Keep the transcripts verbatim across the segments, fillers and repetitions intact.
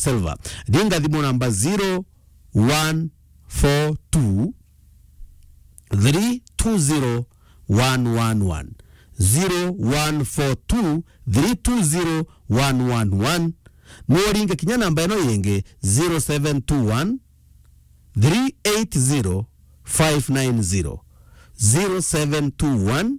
Silver. Ringa thimu namba zero one four two, three two zero one one one. Zero one four two, three two zero one one one. No ringe kinya namba ino yingi, zero seven two one, three eight zero five nine zero. Zero seven two one,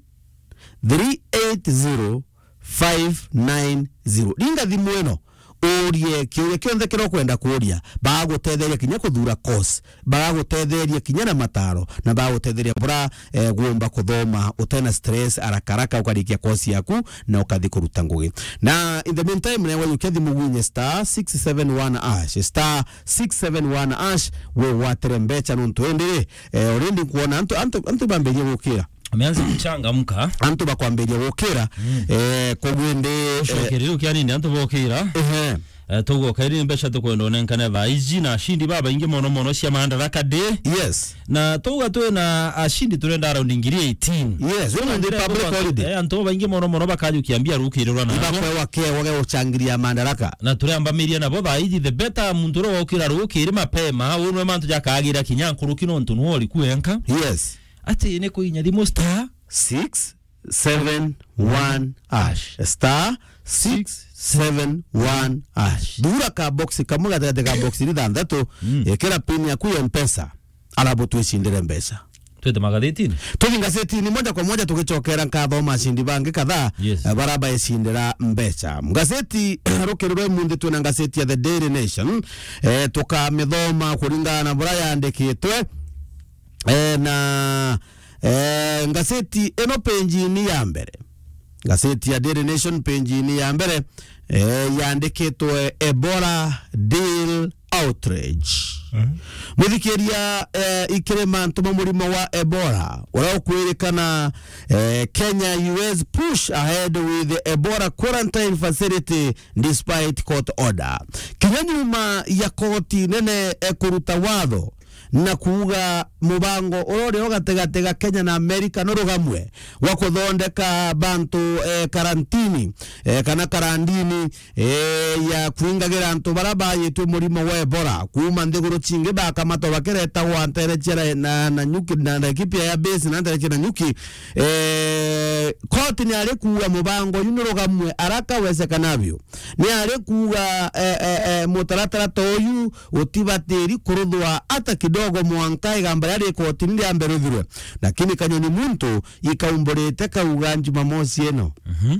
three eight zero five nine zero. Ringa thimu ino, urie kiuria kionthe kiria ukwenda kuuria. Bagagutetheria kinya kuthura course, bagagutetheria kinya na mataro, na bagagutetheria bura, eh, gumba kuthoma utena stress, haraka haraka ukarikia course yaku na ukathi kuruta ngugi. Na in the meantime, nawe ukia thimu gwinye star six seven one hash, star six seven one hash, we watire mbecha nontu indi ri, eh, already nkuona antu, antu, antu bambirie gukira. Ameanza kuchangamka. Antu bakwambiria gukira, eh, koguo indi, eh, ucokereria ukia nini antu bokira. Ehe. Eh, tugoka iri mbeca tukwenda unenkane thaa iji na ashindi babaingi mono mono cia Madaraka Day. Yes. Na tuga twina ashindi turenda around ngiri eighteen. Yes, we nontu public holiday. Eh, antu babaingi mono mono bakajukia mbia rukirirwa na ibakwewa kiewa gia guchangiria Madaraka. Na turambamiria nabo thaa iji, the better muntu uria wokira rukiri mapema, unwe mantu jakagira kinya nkuruki nontu nuo ori kuenka. Yes. Ati ni kuinya thimu star six seven one hash. Star six seven one hash. Thura ka box kamwe gatigati ka box iri thanthatu, mm, ikira pin yaku ya Mpesa, alafu twicindire mbeca. Twite magathitini? Tuthi ngazetini moja kwa moja tugicokera nkathoma ashindi bangi kadhaa, yes, eh, bara baicindira mbeca. Ngazeti rukiri rwa imunthi twina ngazeti ya The Daily Nation, eh, tukamithoma kuringana na buria yandikitwe. Eh, na, eh, ngazeti ino page-ini ya mbere, ngazeti ya Daily Nation page-ini ya mbere, eh, yandikitwe Ebola Deal Outrage. Mhm. Muthikiria, eh, ikiri mantu ma murimo wa Ebola uria ukwirikana, eh, Kenya U S push ahead with Ebola quarantine facility despite court order. Kinya nyuma ya koti nene, eh, kuruta watho na kuuga mubango uria uri o gatigati ga Kenya na Amerika nurugamwe gwa kuthondeka bantu, eh, karantini, eh, kana karandini, eh, ya kwingagira antu bara bayitwe murimo wa Ebola kuuma nthiguru cingi bakamatwa bakiretagwa ntere cia na, na, na nyuki, na, na Laikipia ya base na ntere cia na nyuki. Eh, koti ni ari kuuga mubango uyu nurugamwe haraka wezekanavyo. Ni ari kuuga, eh, eh, eh, mutaratara ta uyu utibatiri kuruthwa ata kidogo mwanka igamba riria ri kotini riambe ruthirwe. Lakini kanyoni muntu ikaumburite kauga Jumamosi ino, mhm,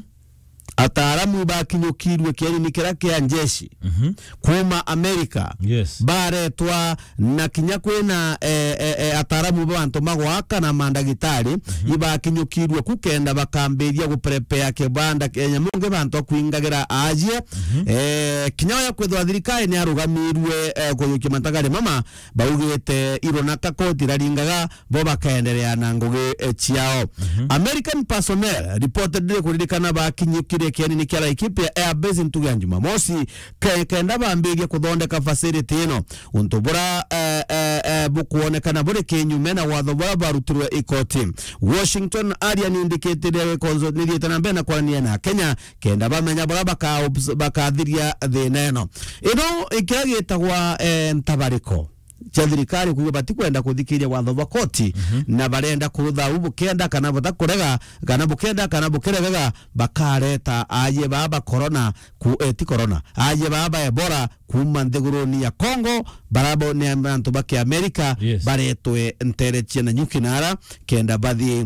ataaramu ibakinyukirue kienini kiria kia njeshi, mhm, kuuma Amerika, yes, baretwa na kinya kwina, eh, eh, eh, ataaramu ba bantu magwaka na mandagitari, mhm, ibakinyukirue ku kenda bakambiria guprepare kibanda kia nyamu ngi bantu a kwingagira aajie. Mhm. Eh, kinya oya kwithwa thirikari ni arugamirue, eh, kuyukia matagari mama, baugite irunaka koti iraringaga, bo bakaenderea na ngugi, eh, ciao. Mhm. American personnel reportedly kuririkana bakinyukire kienini kia Laikipia Air Base ntugu ya Jumamosi, ke-, kenda bambirie kuthondeka facility ino. Untu bura, eh, eh, eh, bukwonekana buri kinyume na watho bura barutirwe i koti. Washington aria ni indikitire konzo ni thiete na mbere na kwarania na Kenya, kenda bamenya bura baka-, bakathiria thina ino. Ino ikiria gitagwa, eh, ntabariko cia thirikari kuuga batikwenda kuthikiria watho bwa koti, mhm, na barenda kurutha u bukenda kana butakurega, kana bukenda kana bukiregaga, bakareta aajie baa ba corona ku-, eh, ti corona, aajie baa ba Ebola kuuma nthiguruni ya Congo, barabo ni antu ba Kiamerika, yes, baretwe ntere cia na nyuki nara, kenda bathii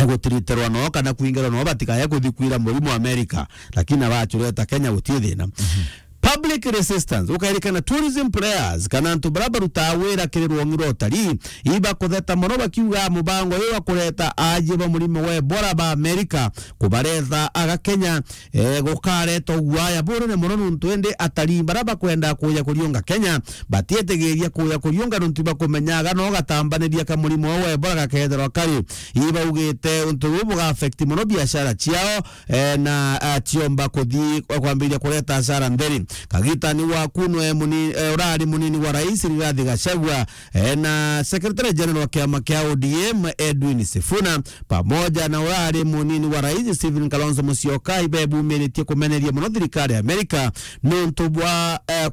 gutiritirwa noo kana kwingirwa noo batikaya kuthi kwira murimo Amerika, lakini abacureta Kenya gutii thina. Mhm. Public resistance, ukairikana tourism players, kana antu bara barutaa wira kiri rwongi rwa utarii, ibakutheta mono bakiuga mubango uyu wa kureta aajie ba murimo wa Ebola ba Amerika kubaretha aga Kenya, eh, gukareta uguaya bunene mono nuntu indi atarii bara bakwenda kuja kuriunga Kenya batietigiria kuja kuriunga nuntu ibakumenyaga no gatambaniria ka murimo wa Ebola gakethirwa kari. Ibaugite untu buu buga affect mono biashara ciao, eh, na, ah, ciomba kuthi kwambiria kureta hasara ntheri. Kagitani wa kunwe muni-, eh, urari munini wa rais Rigathi Gachagua, eh, na Secretary General wa kiama kia O D M Edwin Sifuna, pamoja na urari munini wa rais Stephen Kalonzo Musyoka, ibebumiritie kumeneria mono thirikari ya Amerika nuntu bwa, eh,